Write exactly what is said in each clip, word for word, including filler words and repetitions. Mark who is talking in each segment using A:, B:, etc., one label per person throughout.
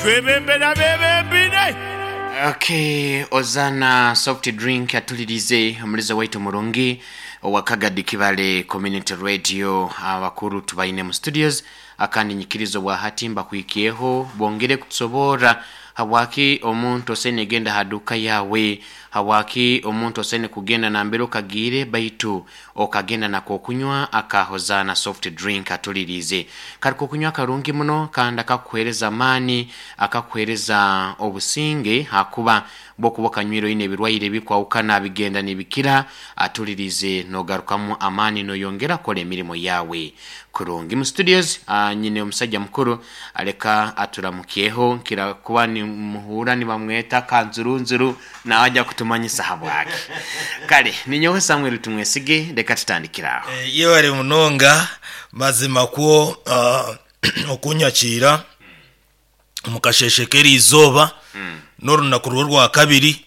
A: Twebembera bebembire.
B: Okay, Ozana Soft Drink atulirize omulizo waitu murungi owa Kagadi Kibale Community Radio. Abakuru tubaine mu studios akandi nyikirizo bwa hati mbakwikieho bongere kutusobora habwaki omuntu osene genda haduka yawe, habwaki omuntu osene kugenda nambere okagire baitu okagenda nako okunywa akahozana soft drink atulirize kariko okunywa karungi muno kandi akakuhereza amani, akakuhereza obusinge hakuba bokuba okanywire oine ebirwaire bikwawukana bigenda nibikira atulirize nogarukamu amani noyongera kola emirimo yawe kurungi. Mu studios uh, nyine omusajja mukuru aleka aturamukyeho nkira kuba ni muhura nibamweta kanzurunzuru nawe ajja kutumanyisa habwaki. Kale ninyowe Samuel Tumwesige, reka tutandikiraho.
C: Eh, yewale munonga mazima kwo uh, okunyakira mukasheshe k'erizooba n'orunaku rwo rwa kabiri,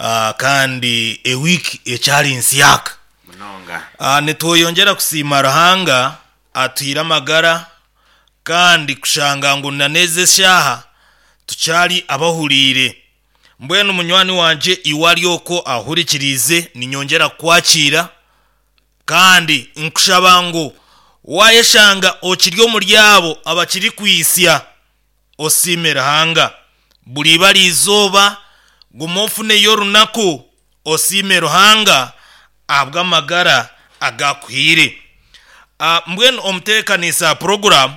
C: uh, kandi ewiki ekyali nsyaka
B: munonga.
C: uh, nitweyongera kusiima Ruhanga atuhire amagara kandi kushanga ngu naneze eshaha tukyali abahuriire. Mbwenu munywani wanje iwe ari okwo ahurikiriize, ninyongera kukwakira kandi nkushaba ngu wayeshanga okiri omuri abo abakiri kwisya osiime Ruhanga. Buri iba izooba guma ofuneyo orunaku osiime Ruhanga ahabw'amagara agakuhiire. Ah, mbwenu omuteekaniisa program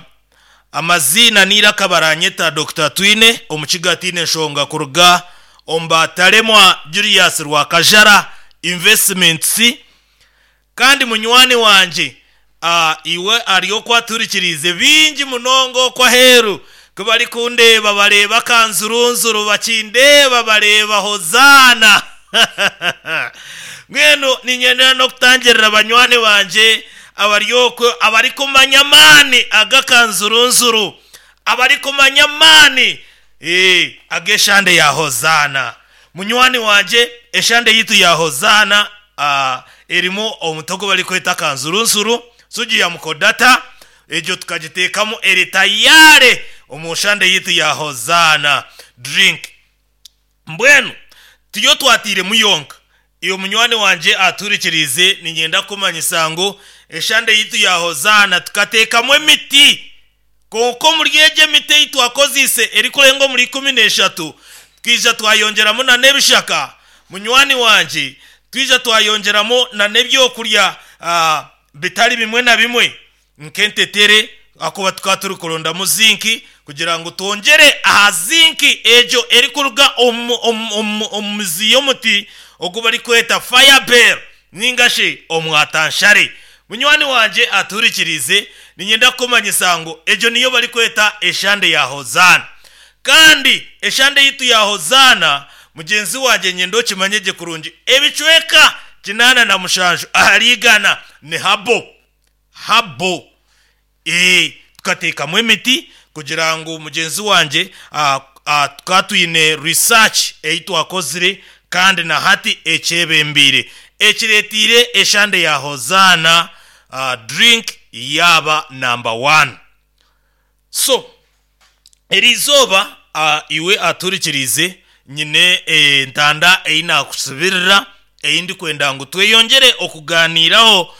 C: amaziina niiraka baranyeta Doctor Twine omukiga tiine enshonga kuruga omu bataremwa Julius Rwakajara Investments. Kandi munywani wanje ah, iwe ari okwaturikiriize bingi munonga okwo aheeru ku bari kundeeba bareeba kanzurunzuru, bakindeeba bareeba Hozaana. Mbwenu ninyendera n'okutangirira banywani banje abari okwo abarikumanya amaani agakanzurunzuru, abarikumanya amaani eh, ag'eshande ya Hozaana. Munywani wanje eshande yitu ya Hozaana ah, erimu omutogo barikweta kanzurunzuru sugi ya mukodata, egyo tukagiteekamu eri tayare omu shande yitu ya Hozaana drink. Mbwenu tiyo twatiiremu yonka. Iyo munywani wanje aturikiriize, ninyenda kumanyisa ngu eshande yitu ya Hozaana tukateekamu emiti, konka omuri egyo emiti ei twakoziise erikurenga omuri ikumi n'eshatu twija twayongyeramu na n'ebishaka. Munywani wanje twija twayongyeramu na n'ebyokurya ah, bitari bimwe na bimwe nk'entetere, akuba tukaba turikurondamu zinki kugira ngu twongere aha zinki egyo erikuruga omu, omu, omu, omu mizi y'omuti ogu barikweta firebell ninga shi omwatanshare. Munywani wanje aturikirize, ninyenda kukumanyisa ngu egyo niyo barikweta eshande ya Hozaana. Kandi eshande yitu ya Hozaana mugenzi wanje nyenda okimanye gye kurungi, ebicweka kinaana na mushanju ahari igana ni habo habo. Eh, tukateekamu emiti kugira ngu mugenzi wanje ah, ah, tukaba twine research ei twakozire kandi na hati ekyebembiire ekiretiire eshande ya Hozaana uh, drink yaba number one. So erizooba uh, iwe aturikiriize nyine entanda ei nakusubirira ei ndikwenda ngu tweyongere okuganiiraho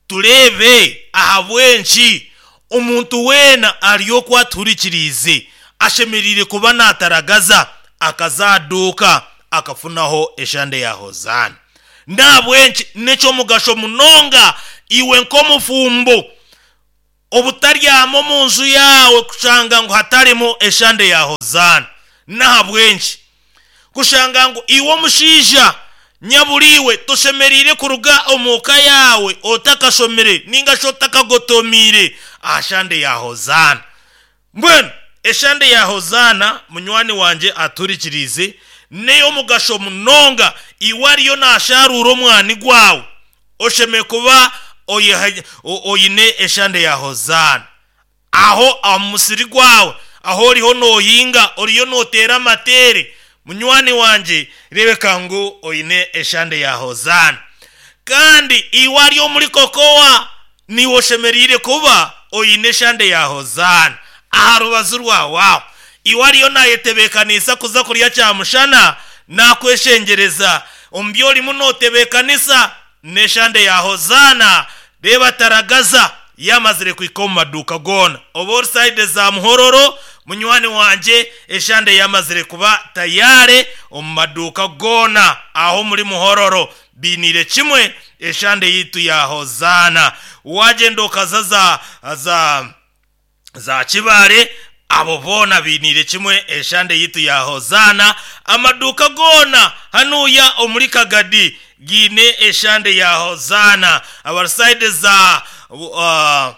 C: tureebe ahabw'enki omuntu weena ari okwo atuhurikiriize ashemereire kuba nataragaza akazaduuka akafunaho eshande ya Hozaana. Nahabwenki n'ekyomugasho munonga iwe nk'omufumbo obutaryama omu nju yawe kushanga ngu hatarimu eshande ya Hozaana. Nahabwenki kushanga ngu iwe omushaija nyaburiwe toshemereire kuruga omuka yawe otakashomire ninga shi otakagotomiire aha shande ya Hozaana. Mbwenu eshande ya Hozaana munywani wanje aturikiriize n'ey'omugasho munonga iwe ariyo nasharuura omwani gwawe osheme kuba oyiha- o- oyine eshande ya Hozaana. Aho omu musiri gwawe aho oriho nohinga oriyo noteera amateere, munywani wanje rebeka ngu oyine eshande ya Hozaana. Kandi iwe ari omuri kokowa niwe oshemereire kuba oyine eshande ya Hozaana aha rubazu rwawe aho. Iwe ariyo nayetebeekanisa kuza kurya kyamushana, nakweshengereza omu byorimu notebeekanisa n'eshande ya Hozaana. Reeba taragaza yamazire kuhika omu maduuka goona. Oba ori sayidi za Muhororo, munywani wangye, eshande yamazire kuba tayare omu maduuka goona aho muri Muhororo, biiniire kimwe eshande yitu ya Hozaana. Wagenda okaza za za za Kibaare, abo boona biiniire kimwe eshande yitu ya Hozaana. Amaduuka goona hanuya omuri Kagadi giine eshande ya Hozaana. Abarusaide za uh,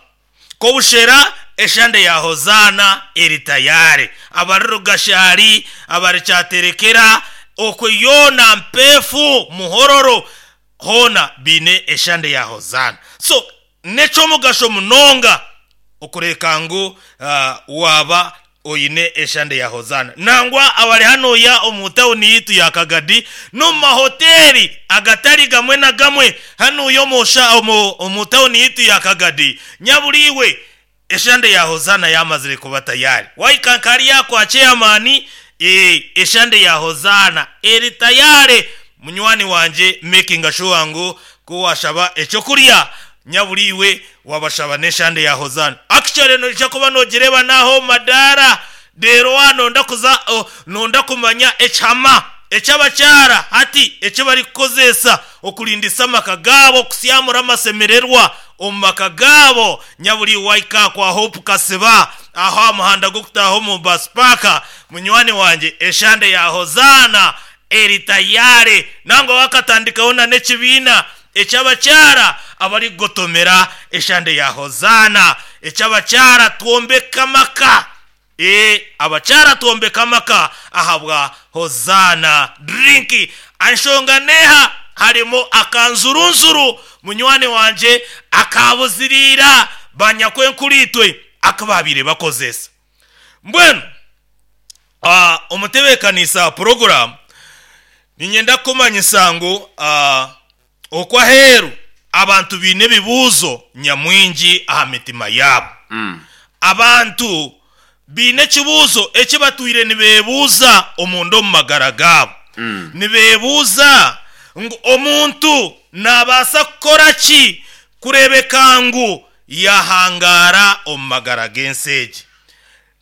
C: Kobushera, eshande ya Hozaana eri tayare. Abari Rugashari, abari Kyaterekera, okwe yoona Mpefu, Muhororo, hoona biine eshande ya Hozaana. So n'ekyomugasho munonga okureka ngu uh, waba oyine eshande ya Hozaana. Nangwa abari hanoya omu tawuni yitu ya Kagadi n'omu mahoteli agatari gamwe na gamwe hanuya omu omu tawuni yitu ya Kagadi, nyaburiwe eshande ya Hozaana yamazire kuba tayari. Waikankari yakwa chairman, e, eshande ya Hozaana eri tayari. Munywani wanje, making sure ngu kuwashaba ekyokurya, nyaburiwe wabashaba n'eshande ya Hozaana. Actually noija kuba nogireba naho madara rero wano kuza oh, nonda kumanya ekihama ekyabakyara hati eki barikukozesa okurindisa amaka gaabo, kusyamura amasemererwa omu maka gaabo. Nyaburi waika kwa Hope Kasiba aho amuhanda gukutaho omu bus park, munywani wanje, eshande ya Hozaana eri tayare. Nangwa wakatandikaho na n'ekibiina ekyabakyara abarikugotomera eshande ya Hozaana. Ekyabakyara twombeka amaka, e abakyara twombeka amaka ahabwa Hozaana drink. Anshonga neha harimo akanzurunzuru, munywani wanje, akabuzirira banyakwenkuritwe akababire bakozesa. Mbwenu uh, omutebeekanisa program, ninyenda kumanyisa ngu uh, okwaheeru abantu biine ebibuuzo nyamwingi aha mitima yaabo.
B: Mm.
C: Abantu biine ekibuuzo eki batwire nibeebuuza omunda omu magara gaabo.
B: Mm.
C: Nibeebuuza ngu omuntu nabaasa kukora ki kurebeka ngu yahangara omu magara g'ensi egi,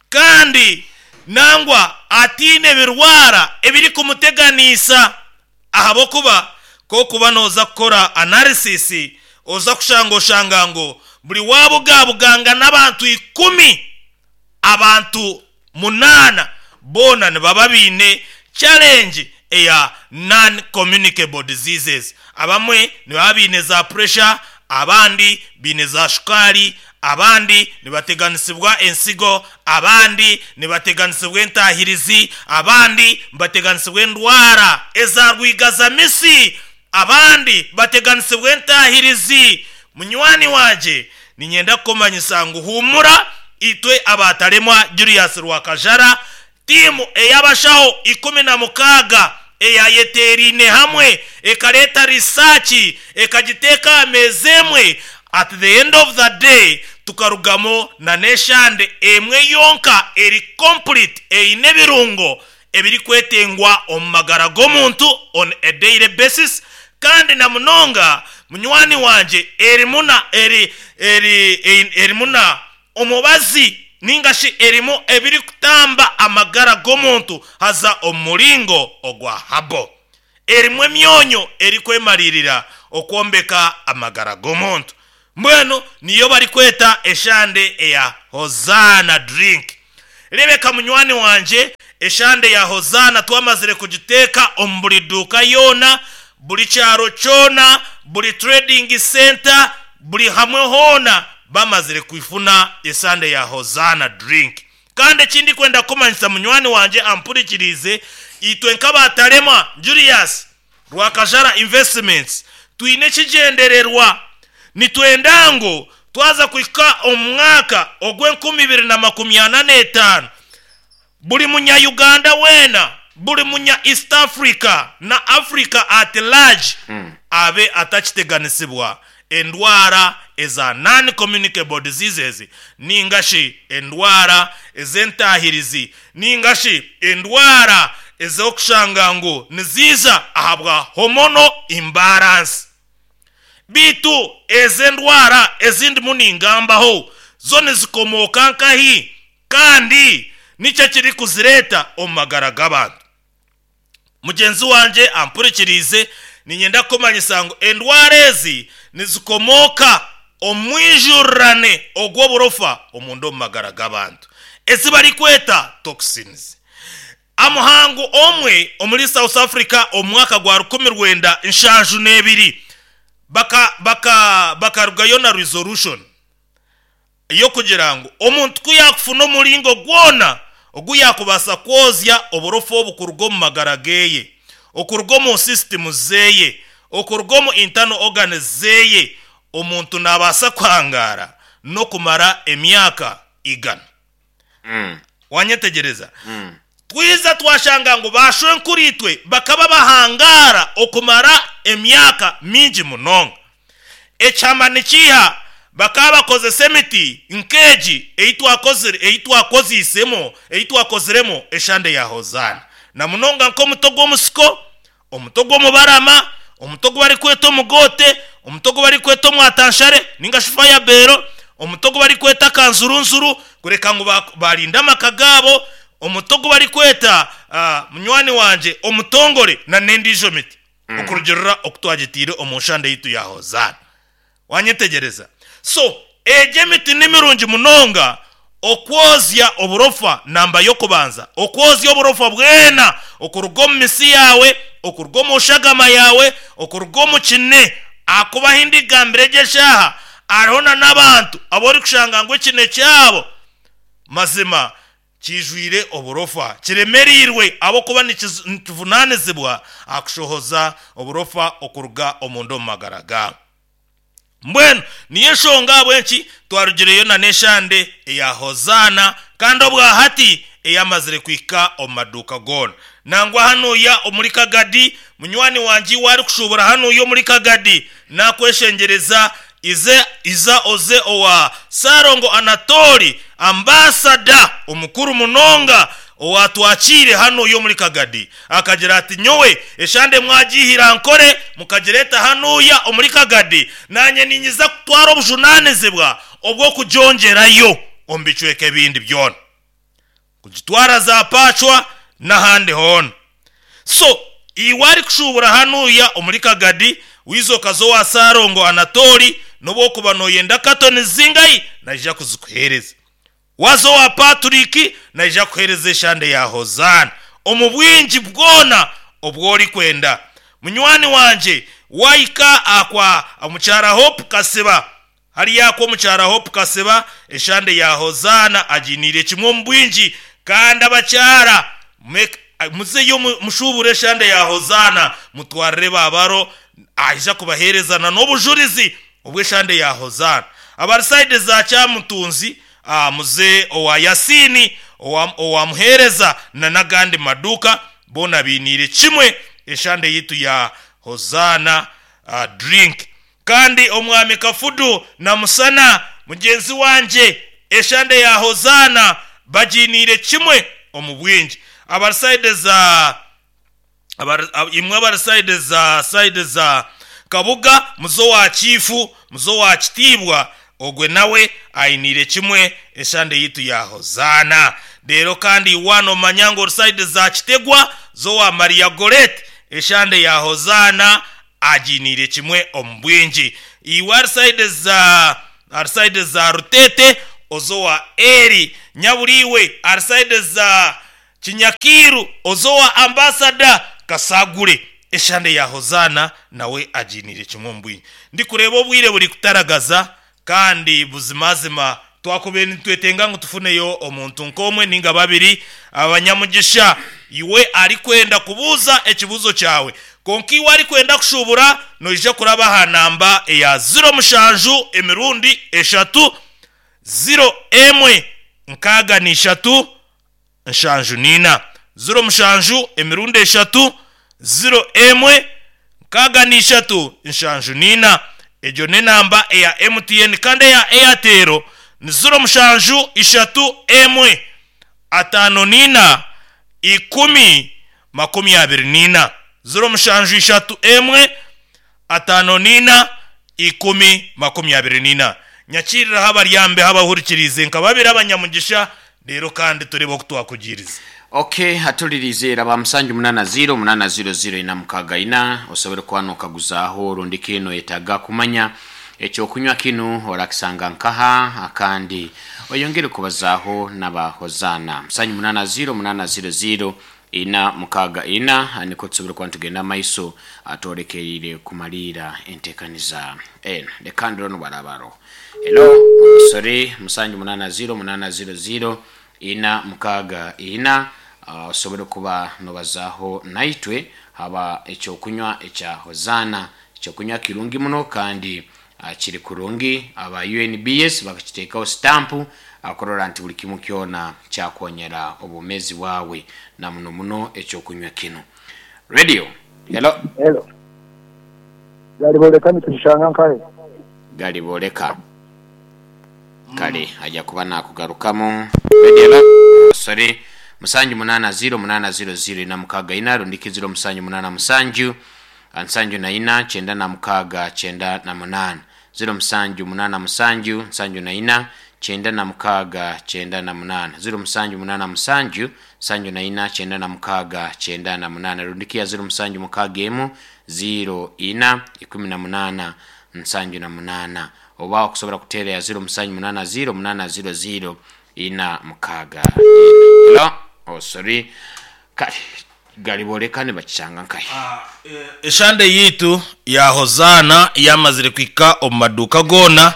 C: kandi nangwa atiine ebirwara ebiri kumuteganiisa. Ahabwokuba kokuba noza kukora analysis, oza kushanga oshanga ngu buri wabugabuganga n'abantu ikumi, abantu munana boona nibaba biine challenge eya non communicable diseases. Abamwe nibaba biine za pressure, abandi biine za shukari, abandi nibateganisibwa ensigo, abandi nibateganisibwa entahirizi, abandi bateganisibwa endwara eza rwigazamisi, abandi bateganisibwa entahirizi. Munywani wanje, ninyenda kukumanyisa ngu humura, itwe abataremwa Julius Rwakajara, timu ey'abashaho ikumi na mukaaga eyayeterine hamwe ekareta research ekagiteeka ameeza emwe, at the end of the day tukarugamo na n'eshande emwe yonka eri complete, eine ebirungo ebirikwetengwa omu magara g'omuntu on a daily basis. Kandi na munonga munywani wanje, erimuna eri eri erimuna omubazi ningashi erimu ebiri kutamba amagara g'omuntu haza omuringo ogwa habo, erimu emyonyo erikwemalirira okwombeka amagara g'omuntu. Mbwenu niyo barikweta eshande eya Hozaana drink. Rebeka munywani wanje, eshande ya Hozaana twamazire kugiteeka omu buri duuka yoona, buri kyaro kyona, buri trading center, buri hamwe hoona bamazire kwifuna esande ya Hozaana drink. Kandi ekindi kwenda kumanyisa munywani wanje ampurikirize, itwe nk'abataremwa Julius Rwakajara Investments twine ekigendererwa. Nitwenda ngu twaza kuhika omwaka ogw'enkumi ibiri na makumi ana n'etaano, buri munya-Uganda weena, buri munya East Africa na Africa at large
B: Mm.
C: abe atakiteganisibwa endwara eza non communicable diseases, ningashi endwara ez'entahirizi, ningashi endwara ez'okushanga ngu niziiza ahabwa hormonal imbalance. Bitu ez'endwara ezindi muningambaho zo nizikomoka nkahi, kandi nicyo kiri kuzireta omu magara g'abantu. Mugenzi wanje ampurikirize, ninyenda kumanyisa ngu endwara ezi nizikomoka omwijurane ogw'oburofa omunda omu magara g'abantu, ezi barikweta toxins. Amuhangu omwe omuri South Africa omu mwaka gwa rukumi rwenda nshanju n'ebiri baka baka bakarugayo na resolution yo kugira ngu omuntu ku yakufuna omuringo gwona ogu yakubasa kwozya oburofa obu kuruga omu magara geye, okuruga omu system zeye, okuruga omu internal organs zeye, omuntu nabaasa kuhangara n'okumara emyaka igana.
B: Mm.
C: Wanyetegereza?
B: Mm.
C: Twiza twashanga ngu bashwenkuritwe bakaba bahangara okumara emyaka mingi munonga. Ekyama nikiha? Bakaba bakozesa emiti nkeegi eyitwakozire, eyitwakozisemo, eyitwakoziremo eshande ya Hozana, na munonga nk'omuto gw'omusiko, omuto gw'omubarama, omuto gwu barikweta omugote, omuto gwu barikweta omwatanshare ninga shi fayabero, omuto gwu barikweta kanzurunzuru, kureka ngu ba- barinde amaka gaabo, omuto gwu barikweta ah, munywani wanje omutongore, na n'endiijo miti, okurugirira okutwagitiire omu nshande yitu ya Hozana. Wanyetegereza? So egyo emiti ni mirungi munonga okwozya oburofa. Namba y'okubanza, okwozya oburofa bwena okuruga omu misi yawe, okuruga omu shagama yawe, okuruga omu kine. Akuba hindi gambire egyo eshaaha hariho na n'abantu abo kushanga ngu ekine kyabo mazima kijwire oburofa, kiremereirwe abokuba nikiz- nikivunanizibwa akushohoza oburofa okuruga omunda omu magara gaabo. Mbwenu niyo enshonga ahabw'enki twarugireyo na n'eshande eya Hozana, kandi obwahati eyamazire kuhika omu maduuka goona. Nangwa hanuya omuri Kagadi, munywani wange wari kushubura hanuya omuri Kagadi, nakweshengereza ize iza oze owa Sarongo Anatori, ambasada omukuru munonga owatwakire hano yo muri Kagadi, akagira ati: "Nyowe eshande mwagihira nkore mukagireta hanuya omuri Kagadi, nanye ninyiza kutwara obujunanizibwa obwo kugyongerayo omu bicweka ebindi byona, kugitwara za Pacwa n'ahandi hoona." So iwe ari kushubura hanuya omuri Kagadi, wizoka zo wa Sarongo Anatori, nobwokuba noyenda katoni zingayi, naija kuzikuhereza. Wazo wa Patrick, naija kuhereza eshande ya Hozana omu bwingi bwona obwori kwenda. Munywani wanje, waika akwa omukyara Hope Kasiba, hariya akwa omukyara Hope Kasiba, eshande ya Hozana aginiire kimwe omu bwingi. Kandi abakyara make- muzeyo mu- mushubure eshande ya Hozana, mutwarire babaro, aija kubaherezana n'obujurizi obw'eshande ya Hozana. Abari side za Kyamutunzi, ah, muze owa Yasini, owa- owamuhereza na n'agandi maduka bona biniire kimwe eshande yitu ya Hozana uh, drink. Kandi omwami Kafudu na Musana, mugenzi wanje, eshande ya Hozana baginiire kimwe omu bwingi. Abari side za abari- ab- imwe abari side za side za Kabuga, muzo wa Chifu, muzo wa Kitiibwa, ogwe nawe ayiniire kimwe eshande yitu ya Hozana. Rero kandi wano manya ngu side za Kitegwa, zo wa Maria Goret, eshande ya Hozana aginiire kimwe omu bwingi. Iwe ari side za ari side za Rutete, ozo wa Eri Nyaburiwe, ari side za Kinyakiru, ozo wa ambasada Kasagure, eshande ya Hozana nawe aginire kimwe mu bwingi. Ndikureba obwire buri kutaragaza, kandi buzimazima twakubere nitwetenga ngu tufuneyo omuntu nk'omwe ninga babiri abanyamugisha. Iwe ari kwenda kubuuza ekibuzo kyawe, konka iwe ari kwenda kushubura, noija kuraba aha namba eya ziro mushanju emirundi eshatu ziro emwe nkaaga n'ishatu nshanju nina, ziro mushanju emirundi eshatu ziro emwe nkaaga n'ishatu nshanju nina. Egyo n'enamba eya M T N, kandi eya Airtel ni ziro mushanju ishatu emwe ataano nina ikumi makumi abiri nina, ziro mushanju ishatu emwe ataano nina ikumi makumi abiri nina. Nyakiriraho abaryambe abahurikirize nka babiri abanyamugisha rero, kandi turebe oku twakugiriza.
B: Okay, hatulirize era musanju munana ziro munana ziro ziro ina mukaga ina, osobole kuba nokaguzaaho rundi kino yetaaga kumanya ekyokunywa kinu orakisanga nkaha, akandi oyongere kubazaaho n'abahozaana. Musanju munana ziro munana ziro ziro ina mukaga ina, niko tusobole kuba nitugenda maiso atwolekeire kumaliira enteekaniza eno. Leka ndiro nubarabaro. Hello, sorry, musanju munana ziro munana ziro ziro ina mukaga ina, uh, osobole kuba nobazaaho naitwe haba ekyokunywa ekya Hozaana. Ekyokunywa kirungi muno kandi uh, kiri kurungi. Aba U N B S bakakiteekaho stampu akurora nti buli kimu kyona kyakonyera obumezi bwawe, na muno muno ekyokunywa kino. Radio, hello.
D: Hello. Galiboleka nitushanga nkahe?
B: Galiboleka, kale ajja kuba nakugarukamu. Radio, hello, sorry, musanju munana ziro munana ziro ziro ina mukaga ina, rundiki ziro musanju munana musanju nsanju na ina kyenda na mukaga kyenda na munana, ziro musanju munana musanju nsanju na ina kyenda na mukaga kyenda na munana, ziro musanju munana musanju nsanju na ina kyenda na mukaga kyenda na munana, rundikia ziro musanju mukaga emu ziro ina ikumi na munana nsanju na munana, oba okusobola kuteera ya ziro musanju munana ziro munana ziro ziro ina mukaga ina. Hello, oh sorry, kale galiboleka ne bakisanga nkahe?
C: Eshande yitu ya Hozana yamazire kwika omu maduka gona.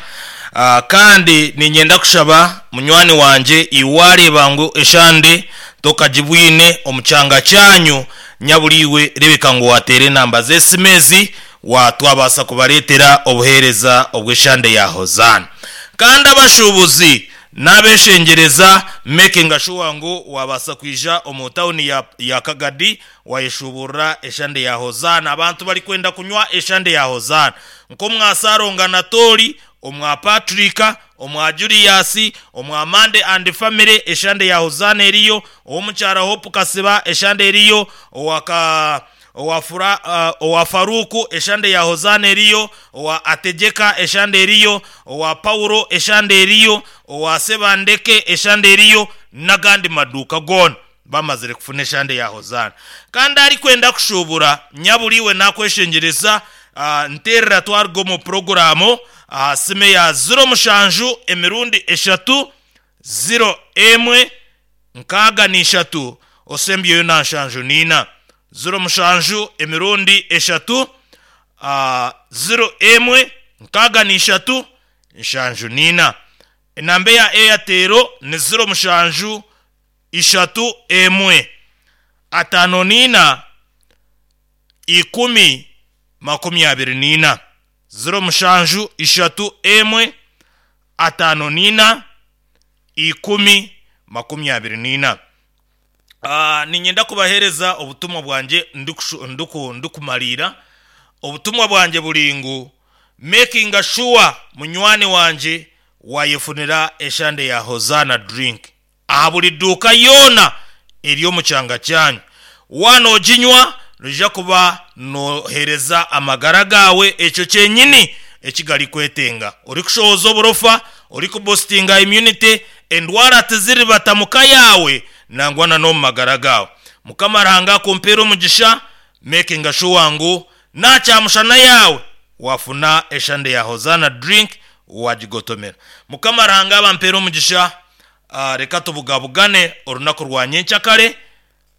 C: Ah, kandi ninyenda kushaba munywani wanje, iwareba ngu eshande tokagibwine omukyanga kyanyu, nyabuliwe rebeka ngu watere enamba z'esimezi watwabasa kubaretera obuhereza obw'eshande ya Hozana. Kandi abashubuzi n'abeshengereza, making sure ngu wabasa kwija omu tawuni ya, ya Kagadi wayeshuburra eshande ya Hozana. Abantu bari kwenda kunywa eshande ya Hozana nk'omwasaronga Natori, omwa Patrika, omwa Julius, omwa Mande and family, eshande ya Hozana eriyo. Owomukyara Hope Kasiba, eshande eriyo. Owaka owa Fura, uh, owa Faruku, eshande ya Hozana eriyo. Owa Ategeka, eshande eriyo. Owa Paulo, eshande eriyo. Owa Sebandeke, eshande eriyo, n'agandi maduka gona bamazire kufuna eshande ya Hozana. Kandi ari kwenda kushubura, nyaburiwe nakweshengereza, uh, nterera twargo mu programu uh, sime ya ziro mushanju emirundi eshatu ziro emwe nkaaga n'ishatu, osembyeyo na nshanju nina, ziro mushanju emirundi eshatu uh, ziro emwe nkaaga n'ishatu nshanju nina. Enamba ya Airtel ni ziro mushanju ishatu emwe ataano nina ikumi makumi abiri nina, ziro mushanju ishatu emwe ataano nina ikumi makumi abiri nina. Ah, ninyenda kubahereza obutumwa bwanje ndikushu- ndiku ndikumalira obutumwa bwanje buri ngu making sure munywani wanje wayefunira eshande ya Hozana drink aha buli duuka yoona eri omu kyanga kyanyu. Wanoginywa noija kuba nohereza amagara gawe ekyo kyenyini ekigali kwetenga, ori kushohoza oburofa, ori kuboostinga immunity, endwara tiziribata muka yawe nangwa na n'omu magara gawe. Mukama Ruhanga akumpeera omugisha. Making sure ngu nakyamushana yawe wafuna eshande ya Hozana drink wagigotomera. Mukama Ruhanga abampeera omugisha. uh, reka tubugabugane orunaku rwa nyenkyakare.